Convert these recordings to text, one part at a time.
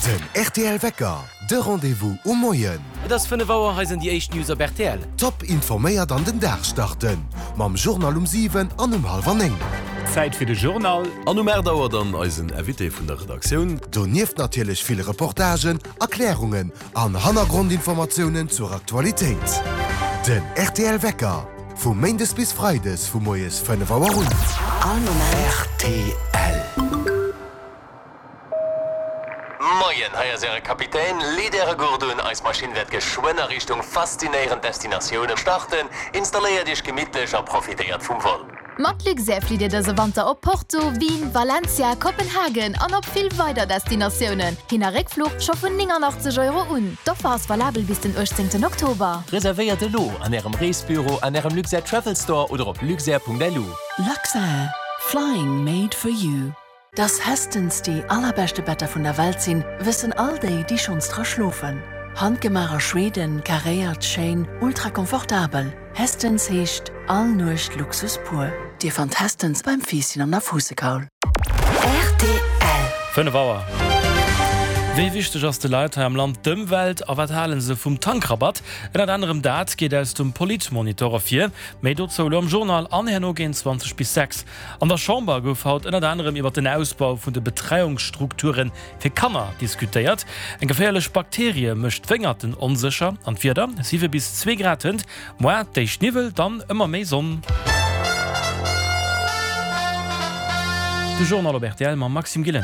Den rtl Wecker, de Rendez-vous um Moien. Et ass 5 Auer, hei sinn déi éischt News op rtl. Top informéiert an den Dag starten mam Journal um 7 an um hallwer 9. Zäit fir de Journal. An um 8 Auer dann eisen Invité vun der Redaktioun. Donieft natierlech vill Reportagen, Erklärungen an Hannergrondinformatiounen zur Aktualitéit. Den rtl Wecker, vu Méindes bis Freides vu moies 5 Auer un. All Moment. Rtl. Moien, hei ass äre Kapitän. Leet äre Gurt un, eis Maschinn wäert geschwënn a Richtung faszinéierend Destinatioune starten. Installéiert iech gemittlech a profitéiert vum Vol. Mat Luxair flitt Dir dëse Wanter op Porto, Wien, Valencia, Kopenhagen an op vill weider Destinatiounen. Hin a Réckfluch scho vun 89 Euro un. D'Offer ass valabel bis den 18 Oktober. Reservéiert elo an Ärem Reesbüro, an Ärem Luxair Travel Store oder op luxair.lu. Luxair, flying made for you. Dass Hästens déi allerbeschte Better vun der Welt sinn, wëssen all déi, déi schonns dra schlofen. Handgemaach a Schweden, karéiert, schéin, ultra komfortabel. Hästens heescht all Nuecht Luxus pur. Dir fannt Hästens beim Fiisschen an der Fuussekaul. Rtl. 5 Auer. Wéi wichteg ass de Leit hei am Land d'Ëmwelt a wat hale se vum Tankrabatt? Ënnert anerem dat geet aus dem Politmonitor ervir. Méi dozou elo am Journal an herno géint 20 bis 6. An der Chamber gouf haut ënnert anerem iwwer den Ausbau vun de Betreiungsstrukture fir Kanner diskutéiert. Eng geféierlech Bakterie mécht d'Wéngerten onsécher an d'Wieder, 7 bis 2 Grad hënt, moar d'éischt Niwwel, dann ëmmer méi Sonn. De Journal op rtl mam Maxime Gillen.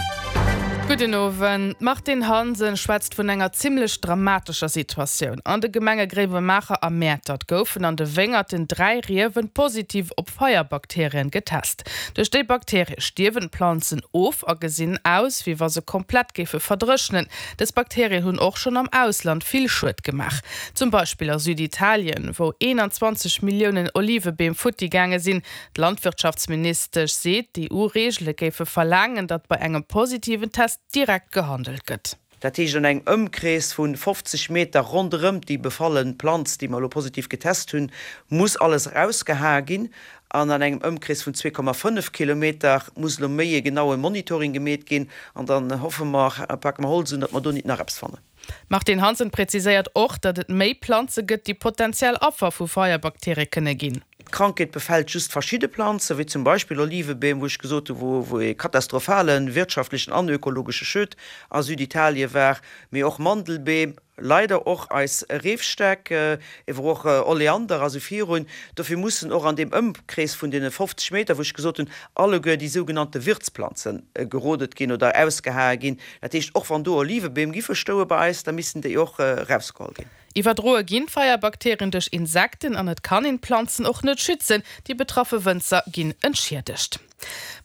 Gudden Owend. D'Martine Hansen schwätzt vun enger zimmlech dramatescher Situatioun. An de Gemenge Gréiwemaacher a Mäertert goufen an de Wéngerten 3 Riewen positiv op Feierbakterien getest. Duerch déi Bakterie stierwen d'Planzen of a gesinn aus, wéi wa se komplett géife verdréchnen. Dës Bakterien hunn och schonn am Ausland vill Schued gemaach. Zum Beispill a Süditalien, wou 21 Milliounen Olivebeem futti gaange sinn. D'Landwirtschaftsministesch seet, d'EU-Reegele géife verlaangen, datt bei engem positiven Test direkt gehandelt gëtt. Dat heescht an engem Ëmkrees vu 50 Meter ronderëm déi befalle Planz, déi mer elo positiv getest hunn, muss alles erausgehae ginn. An an engem Ëmkrees vun 2,5 Kilometer muss elo méi e genaue Monitoring gemeet ginn. An dann hoffe mer, pake mer Holz un, datt mer do nit nach eppes fannen. D'Martine Hansen präziséiert och, datt et méi Planze gëtt, déi potentiell Affer vu Feierbakterie kënne ginn. D'Krankheet befält just verschidde Planzen, wéi zum Beispill Olivebeem, wou ech gesot hu wou e katastrophale wirtschaftlechen an ökologesche Schued a Süditalien war, mee och Mandelbeem, leider och eis Reefstäck, ewer och Oleander a sou virun. Dofir mussen och an deem Ëmkrees vun deene 50 Meter, wou ech gesot hunn, alleguer déi sougenannte Wirtsplanze gerodet ginn oder ausgehae ginn. Dat heescht, och wann do Olivebeem giffe stoue bei eis, da missten déi och erausgeholl ginn. Iwwerdroe ginn d'Feierbakterien duerch Insekten an et kann een d'Planzen och net schützen. Déi betraffe Wënzer ginn entschiedegt.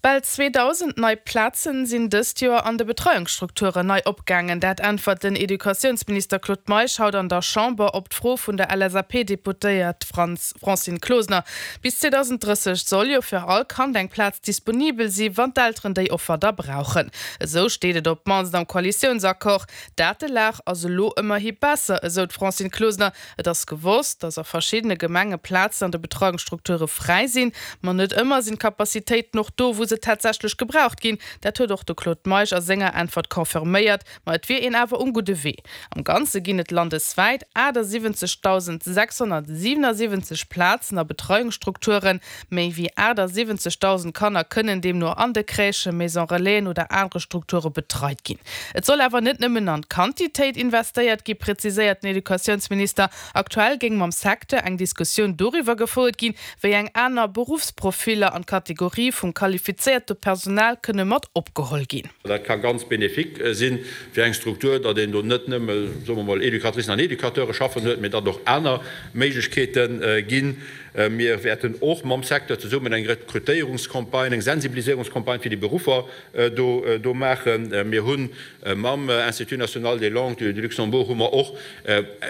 Bal 2.000 nei Plazen sinn dëst Joer an de Betreiungsstrukturen nei opgaangen. Dat äntwert den Educatiounsminister Claude Meisch haut an der Chamber op d'Fro vun der LSAP-Deputéiert Francine Closener. Bis 2030 soll jo fir all Kand eng Plaz disponibel si wann d'Elteren déi Offer da brauchen. Esou steet et op d'mannst am Koalitiounsaccord. D'Datelag ass elo ëmmerhi besser, esou d'Francine Closener. Et ass gewosst, datt a verschiddene Gemenge Plazen an de Betreiungsstrukture fräi sinn. Ma net ëmmer sinn d'Capacitéiten och do, wou se tatsächlech gebraucht ginn. Dat huet och de Claude Meisch a senger Äntwert confirméiert. Ma et wier een awer um gudde Wee. Am Ganze ginn et landeswäit 78.677 Plazen a Betreiungsstrukturen. Méi wéi 78.000 Kanner kënnen deemno an de Crèchen, Maison Relaisen oder anere Strukture betreit ginn. Et soll awer net nëmmen an d'Quantitéit investéiert gi, präziséiert den Educatiounsminister. Aktuell géing mam Secteur eng Diskussioun doriwwer gefouert ginn, wéi eng aner Beruffsprofiller an d'Kategorie vum qualifizéierte Personal kënne mat opgeholl ginn. Dat ka ganz bénéfique si fir eng Struktur, datt een do net nëmme, soe mer mol, Educatricen an Educateure schaffen huet, mee datt och aner Méiglechkeete ginn. Mir wäerten och mam Secteur zesummen eng Rekrutéierungscampagne, eng Sensibiliséierungscampagne fir déi Beruffer do maachen. Mir hu mam Institut national des langues du Luxembourg hu mer och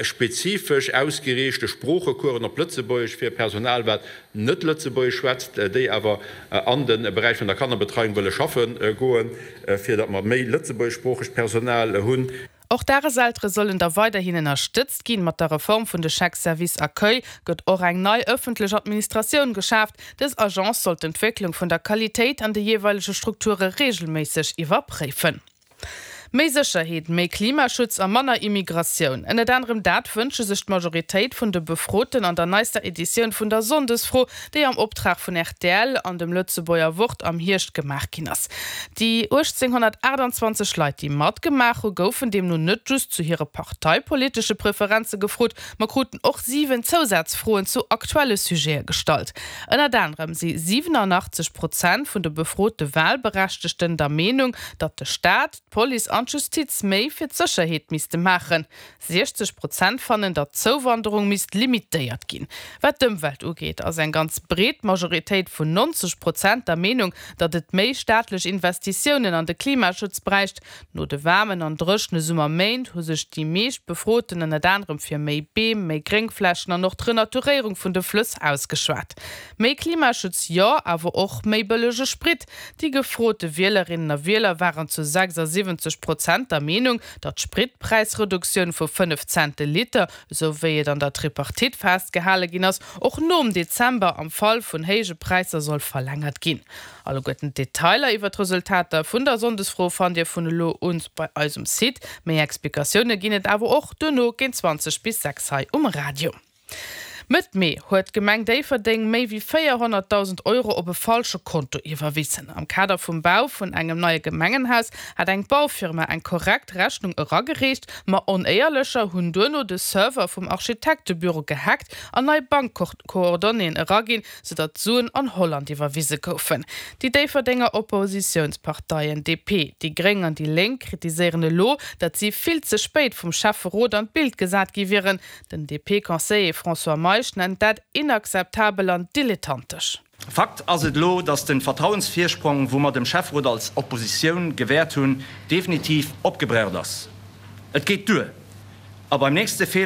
spezifesch ausgeriichte Sproochecoursen op Lëtzebuergesch fir Personal, wat net Lëtzebuergesch schwätzt, déi awer an de Beräich vun der Kannerbetreiung wëlle schaffe goen, fir datt mer méi lëtzebuergeschsproochegt Personal hunn. Och d'Dageseltere sollen da weiderhin ënnerstëtzt ginn. Mat der Reform vun de Chèques service accueil gëtt och eng nei ëffentlech Administratioun geschaaft. Dës Agence soll d'Entwécklung vun der Qualitéit an de jeeweilege Strukture reegelméisseg iwwerpréifen. Méi Sécherheet, méi Klimaschutz a manner Immigratioun. Ënnert anerem dat wënsche sech d'Majoritéit vun de Befroten an der neister Editioun vun der Sonndesfro, déi am Optrag vun rtl an dem Lëtzebuerger Wort am Hierscht gemaach ginn ass. Déi 1.828 Leit, déi matgemaach hu goufen deemno net just zu hire parteipolitesche Preferenze gefrot, ma kruten och 7 Zousazfroen zu aktuelle Sujete gestallt. Ënnert anerem si 87 Prozent vun de befrote Walberechtegten der Meenung, datt de Staat, d'Police an d'Justiz méi fir d'Sécherheet misste maachen. 60 Prozent fannen, datt d'Zouwanderung misst limitéiert ginn. Wat d'Ëmwelt ugeet, ass eng ganz breet Majoritéit vun 90 Prozent der Meenung, datt et méi staatlech Investitiounen an de Klimaschutz bräicht. No de waarmen an dréchene Summerméint hu sech déi meescht Befroten ënnert anerem fir méi Beem, méi Gréngflächen an och d'Renaturéierung vun de Flëss ausgeschwat. Méi Klimaschutz jo, awer och méi bëllege Sprit. Déi gefrote Wielerinnen a Wieler waren zu 76 Prozent der Meenung, datt d'Spritpräisreduktioun vu 5 Cent de Liter, esou wéi et an der Tripartite festgehale ginn ass, och nom Dezember am Fall vun héije Präisser soll verlängert ginn. Alleguerten d'Detailer iwwer d'Resultater vun der Sonndesfro fannt Dir vun elo un bei eis um Site. Méi Explikatioune ginn et awer och duerno géint 20 bis 6 hei um Radio. Mëtt Mee huet d'Gemeng Déifferdeng méi wéi 400.000 Euro op e falsche Konto iwwerwissen. Am Kader vum Bau vun engem neie Gemengenhaus hat eng Baufirma eng korrekt Rechnung eragereecht, ma Onéierlecher hunn duerno de Server vum Architektebüro gehackt an nei Bankcoordonnéeën eraginn, soudatt d'Suen an Holland iwwerwise goufen. Déi Déifferdenger Oppositiounsparteien DP, déi Gréng an déi Lénk kritiséieren elo, datt si vill ze spéit vum Schäfferot an d'Bild gesat gi wieren. Den DP-Conseiller François Meisch nennt dat inakzeptabel an dilettantesch. Fakt ass et elo, datt de Vertrauensvirsprong, wou mer dem Schäfferot als Oppositioun gewäert hunn, definitiv opgebraucht ass. Et geet duer a beim nächste Feeler.